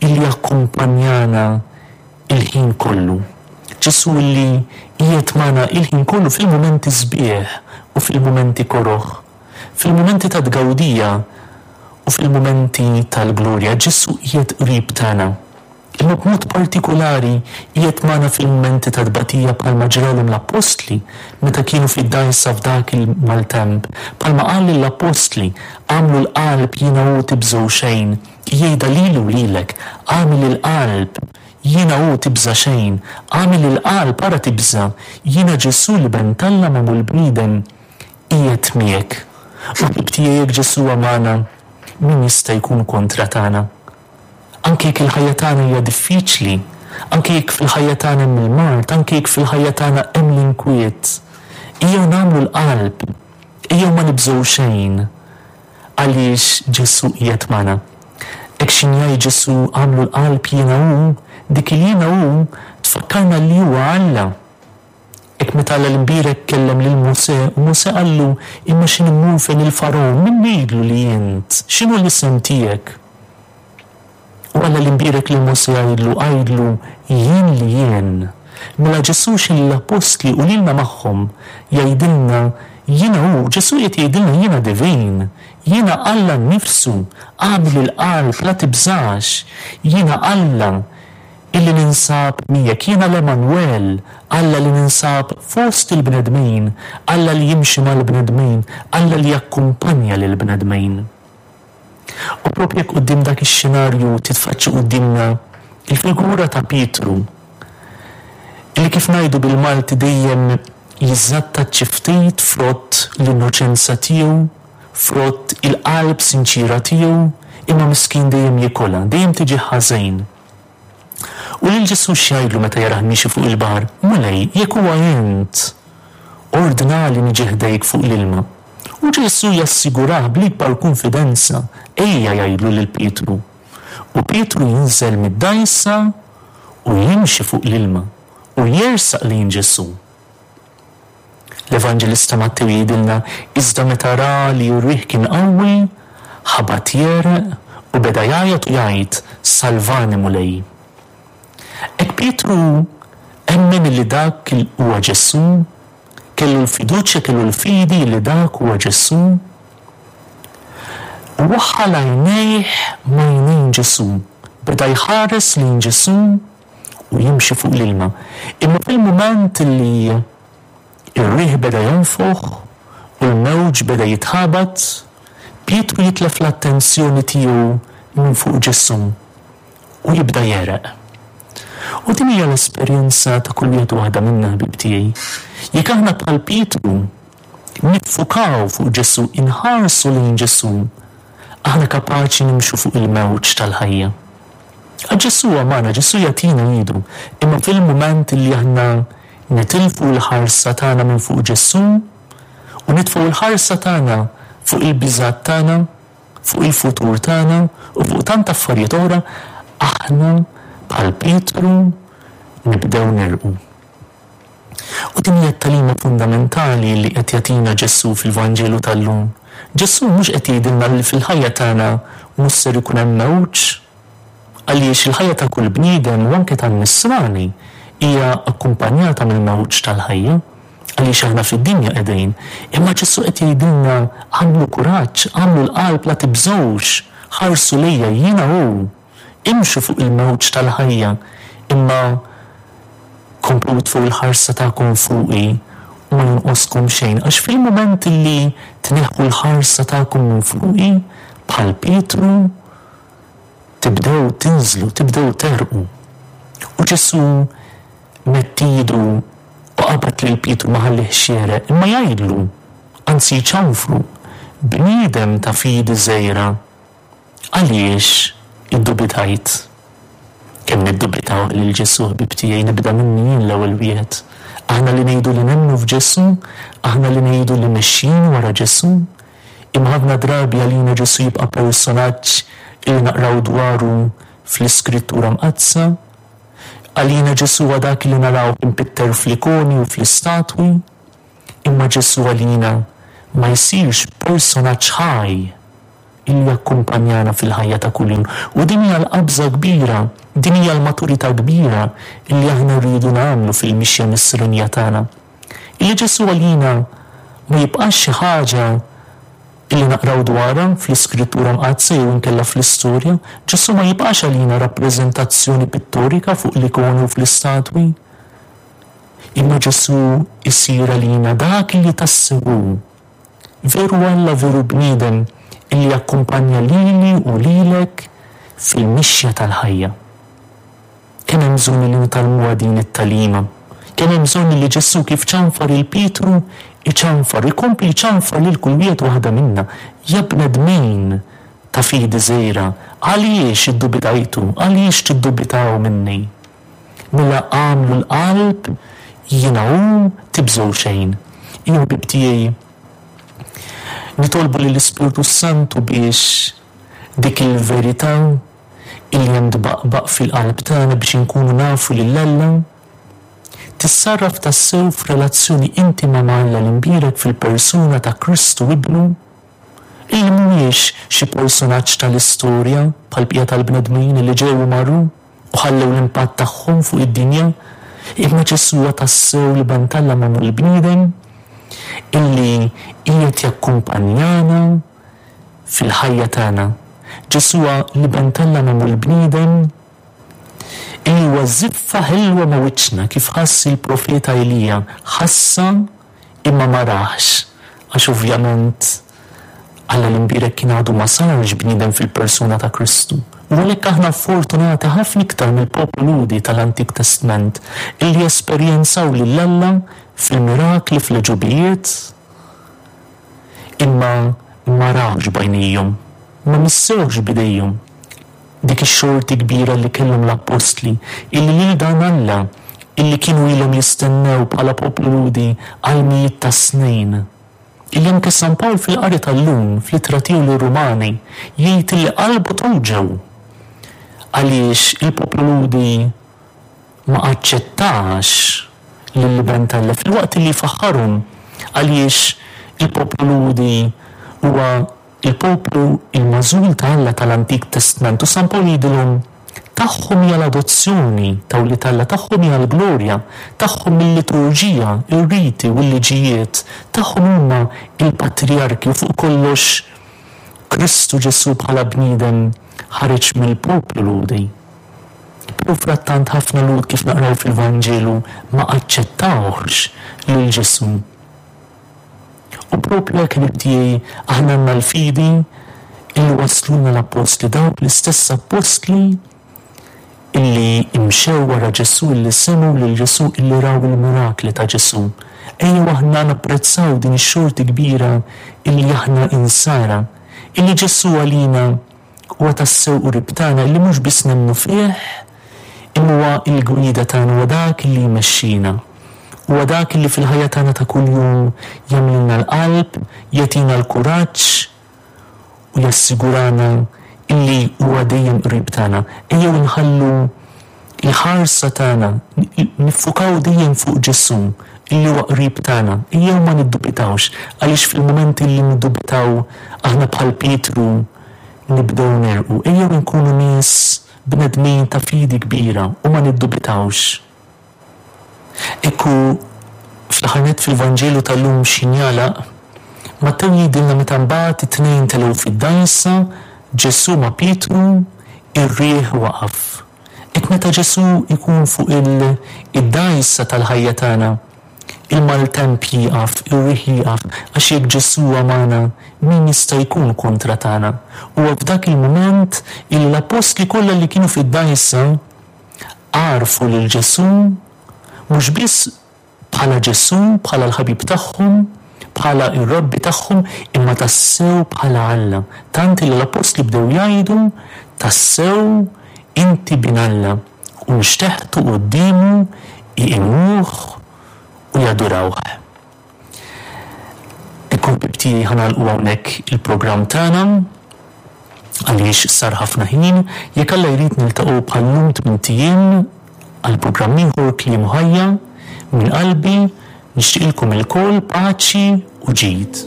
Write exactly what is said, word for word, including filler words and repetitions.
illi jakkumpanjana il-ħin kollu. Ġesù illi qiegħed magħna il-ħin kollu fil-mumenti sbieħ u fil-mumenti koroh, fil-mumenti ta' tgawdija u fil-mumenti tal-glorja. Ġesù qiegħed qrib tagħna. Imma b'mod partikolari qiegħed magħna fil-mumenti ta' tbatija, bħalma ġralhom l-appostli meta kienu fid-dgħajsa f'dak il-maltemp. Bħalma qal lill-appostli: "Agħmlu l-qalb, jiena hu, tibżgħu xejn." Jgħidha lili u lilek: "Agħmel il-qalb, jiena hu, tibża' xejn. Agħmel il-qalb, ara tibża', jiena Ġesù l-Iben t'Alla magħmul bniedem, qiegħed miegħek." U ħbieb tiegħi, jekk Ġesù magħna, min jista' jkun kontra tagħna? Anke jekk il-ħajja tagħna hija diffiċli, anke jekk fil-ħajja tagħna hemm il-mard, anke jekk fil-ħajja tagħna hemm l-inkwiet, ejjew nagħmlu l-qalb, ejjew ma nibżgħu xejn, għaliex Ġesù qiegħed magħna. Hekk x'ħin jgħid Ġesù "Agħmlu l-qalb, jiena hu", dik il "jiena hu" tfakkarna li huwa Alla. Hekk meta Alla l-imbierek kellem lil Mosè, u Mosè qallu: "Imma x'ħin immur fejn il-Fargħun, min ngħidlu li int? X'inhu l-isem tiegħek?" U Alla l-imbierek lil Mosè jgħidlu: "Għidlu 'Jien li jien'." Mela Ġesù x'ħin l-appostli u lilna magħhom jgħidilna "Jiena hu", Ġesù qed jgħidilna: "Jiena divin, jiena Alla nnifsu, agħmel il-qalb, la tibżax, jiena Alla illi ninsab miegħek, jiena l-Emanuel, Alla li ninsab fost il-bnedmin, Alla li jimxi mal-bnedmin, Alla li jakkumpanja lill-bnedmin." U propju quddiem dak ix-xenarju titfaċċa quddiemna il-figura ta' Pietru, illi kif ngħidu bil-Malti dejjem jiżżatta xi ftit frott l-innoċenza tiegħu, frott il-qalb sinċira tiegħu, imma miskin dejjem jikolha, dejjem tiġi ħażin. U lil Ġesù x'jgħidlu meta jarah miexi fuq il-baħar? "Mulej, jekk huwa int, ordnali niġi ħdejk fuq l-ilma." U Ġesù jassigurah bl-ikbar konfidenza: "Ejja", jgħidlu lil Pietru. U Pietru jinżel mid-dgħajsa u jimxi fuq l-ilma u jersaq lejn Ġesù. L-Evanġelista Mattew jgħidilna: "Iżda meta ra li r-riħ kien qawwi, ħabat jegħreq u beda jgħajjat u jgħid: 'Salvani, Mulej.'" Hekk Pietru emmen li dak huwa Ġesù, kellu l-fiduċja, kellu l-fidi li dak huwa Ġesù. U waħħal għajnejh m'għajnejn Ġesù, beda jħares lejn Ġesù u jimxi fuq l-ilma. Imma fil-moment li ir-riħ beda jonfoħ u l-mewġ beda jitħabat, Pietru jitlef l-attenzjoni tiegħu minn fuq Ġesù u jibda jegħreq. U din hija l-esperjenza ta' kull wieħed waħda minna, ħbieb tiegħi. Jekk aħna bħal Pietru niffukaw fuq Ġesù, inħarsu lejn Ġesù, aħna kapaċi nimxu fuq il-mewġ tal-ħajja. Għax Ġesù magħna, Ġesù jagħtina idu, imma fil-mument li aħna nitilfu l-ħarsa tagħna minn fuq Ġesù u nitfgħu l-ħarsa tagħna fuq il-biżgħat tagħna, fuq il-futur tagħna u fuq tant affarijiet oħra, aħna bħal Pietru nibdew negħrqu. U din hija t-tagħlima fundamentali li qed jagħtina Ġesù fil-Vanġelu tal-lum. Ġesù mhux qed jgħidilna li fil-ħajja tagħna mhux ser ikun hemm mewġ, għaliex il-ħajja ta' kull bniedem u anke tan-nisrani hija akkumpanjata mill-mewġ tal-ħajja, għaliex aħna fid-dinja qegħdin. Imma Ġesù qed jgħidilna: "Agħmlu kuraġġ, agħmlu l-qalb, la tibżgħux, ħarsu lejja, jiena hu, imxu fuq il-mewġ tal-ħajja, imma komplu tfgħu il-ħarsa tagħkom fuqi u ma jonqoskom xejn", għax fil-moment li tneħħu l-ħarsa tagħkom minn fuqi, bħal Pietru, tibdew tinżlu, tibdew tegħrqu. U Ġesù medd idu u qabad lil Pietru, ma ħallihx jegħreq, imma jgħidlu, anzi jċanfru: "Bniedem ta' fidi żgħira, għaliex iddubitajt?" Kemm niddubitaw lil Ġesù, ħbieb tiegħi, nibda minni jien l-ewwel wieħed. Aħna li ngħidu li nemmnu f'Ġesù, aħna li ngħidu li mexjin wara Ġesù, imma ħafna drabi għalina Ġesù jibqa' personaġġ li naqraw dwaru fl-Iskrittura Mqaddsa. Għalina Ġesù dak li naraw impitter fl-ikoni u fl-istatwi, imma Ġesù għalina ma jsirx personaġġ ħaj illi jakkumpanjana fil-ħajja ta' kuljum. U din hija l-qabża kbira, din hija l-maturità kbira illi aħna rridu nagħmlu fil-mixja nisranija tagħna. Illi Ġesù għalina ma jibqax xi ħaġa illi naqraw dwarha fl-Iskrittura Mqaddsa jew inkella fl-istorja, Ġesù ma jibqax għalina rappreżentazzjoni pittorika fuq l-ikoni u fl-istatwi. Imma Ġesù isir għalina dak li tassew hu. Veru Alla, veru bniedem, illi jakkumpanja lili u lilek fil-mixja tal-ħajja. Kemm hemm bżonn li nitgħallmuha din it-tagħlima. Kemm hemm bżonn li Ġesù kif ċanfar il Pietru, iċanfar, ikompli jċanfar lil kull wieħed waħda minna. Ja bnedmin ta' fidi żgħira, għaliex iddubitajtu, għaliex tiddubitaw minni? Mela għamlu l-qalb, jiena hu, tibżgħu xejn. Ejjew ħbieb tiegħi, nitolbu lill-Ispirtu Santu biex dik il-verità illi hemm tbaqbaq fil-qalb tagħna biex inkunu nafu lil Alla tissarraf tassew f'relazzjoni intima ma' Alla l-imbierek fil-persuna ta' Kristu Ibnu, illi mhuwiex xi personaġġ tal-istorja bħall-bqija tal-bnedmin li ġew u marru u ħallew l-impatt tagħhom fuq id-dinja, imma Ġesù huwa tassew l-Iben t'Alla magħmul bniedem illi qiegħed jakkumpanjana fil-ħajja tagħna. Ġesù huwa l-Iben t'Alla magħmul bniedem illi huwa żiffa ħelwa ma' wiċċna, kif ħass il-profeta Elija, ħassa imma ma raħx, għax ovvjament Alla l-imbierek kien għadu ma sarx bniedem fil-persuna ta' Kristu. U għalhekk aħna fortunati ħafna iktar mill-poplu Lhudi tal-Antik Testament illi esperjenzaw lil Alla fil-mirakli, fl-għeġubijiet, imma ma rawx b'għajnejhom, ma missewx b'idejhom. Dik ix-xorti kbira li kellhom l-appostli illi lil dan Alla illi kienu ilhom jistennew bħala poplu Lhudi għal mijiet ta' snin. Illi anke San Pawl fil-qari tal-lum, fl-ittra tiegħu lir-Rumani, jgħid illi qalbu tawġew għaliex il-poplu Lhudi ma aċċettax lill-Iben t'Alla filwaqt li faħħarhom, għaliex il-poplu Lhudi huwa il-poplu il-magħżul ta' Alla tal-Antik Testament. U San Pawl jgħidilhom tagħhom hija l-adozzjoni ta' wlied Alla, tagħhom hija l-glorja, tagħhom il-liturġija, ir-riti u l-liġijiet, tagħhom huma il-patriarki u fuq kollox Kristu Ġesù bħala bniedem ħareġ mill-poplu Lhudi. Però frattant ħafna Lhud, kif naqraw fil-Vanġelu, ma aċċettawx lil Ġesù. U propju hekk, ħbieb tiegħi, aħna għandna l-fidi illi wasluna l-appostli, dawk l-istess appostli illi imxew wara Ġesù, illi semgħu lil Ġesù, illi raw il-mirakli ta' Ġesù. Ejjew aħna napprezzaw din ix-xorti kbira illi aħna insara, illi Ġesù għalina huwa tassew qrib tagħna, illi mhux biss nemmnu fih, imma huwa l-gwida tagħna, huwa dak illi jmexxina. Huwa dak illi fil-ħajja tagħna ta' kuljum jagħmlilna l-qalb, jagħtina l-kuraġġ u jassigurana illi huwa dejjem qrib tagħna. Ejjew nħallu il-ħarsa tagħna, niffukaw dejjem fuq Ġesù illi huwa qrib tagħna. Ejjew ma niddubitawx, għaliex fil-mument illi niddubitaw aħna bħal Pietru nibdew nerqu. Ejjew nkunu nies bnedmin ta' fidi kbira u ma niddubitawx. Ekku fl-aħħar nett fil-Vanġelu tal-lum x'injalaq, Mattew jgħidilna meta mbagħad it-tnejn telgħu fid-dgħajsa, Ġesù ma' Pietru, ir-riħ waqaf. Hekk meta Ġesù jkun fuq il-dgħajsa tal-ħajja tagħna, il-maltemp jieqaf, ir-riħ jieqaf, għax jekk Ġesù huwa magħna, min jista' jkun kontra tagħna? Huwa f'dak il-mument illi l-appostli kollha li kienu fid-dgħajsa għarfu lil Ġesù mhux biss bħala Ġesù, bħala l-ħabib tagħhom, bħala ir-rabbi tagħhom, imma tassew bħala Alla. Tant li l-appostli bdew jgħidu tassew inti bin Alla, u nxteħtu quddiemu iqimuh u jadurawh. Ekku ħbieb tiegħi, ħa nagħlqu hawnhekk il-programm tagħna għaliex sar ħafna ħin. Jekk Alla jrid niltaqgħu bħal-lum tmint ijiem għal programm ieħor Kliem u Ħajja. Minn qalbi nixtieqilkom ilkoll paċi u ġid.